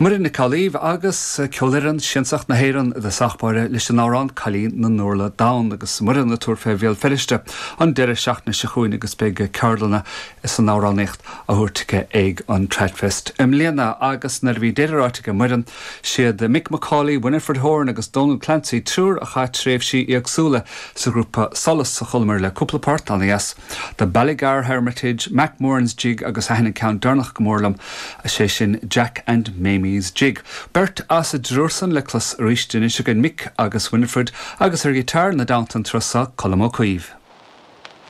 Muireann Nic Amhlaoibh agus Ceolfhoireann Siansach na hÉireann i dtosach báire leis an amhrán Cailín na nUrla Donn agus Muireann ag tabhairt fé Bhéal Feirste an deireadh seachtaine seo chugainn agus beidh ceardlanna san amhránaíocht á thabhairt aici ag an Tradfest i mbliana agus nuair a bhí deireadh ráite aige Muireann, siad Mick McCauley, Winifred Horan agus Donal Clancy, triúr a chaith tréimhsí éagsúla sa ghrúpa Solas a chualamar le cúpla port ana-dheas. The Ballygar Hermitage, Mac Moran's Jig agus thaitin an ceann deireanach go mór liom, sé sin Jack and Mamie's Jig. Beirt as an dtriúr san le clos arís anois againn, Mick agus Winifred, agus ar ghiotár ina dteannta an turas seo, Colm Ó Caoimh.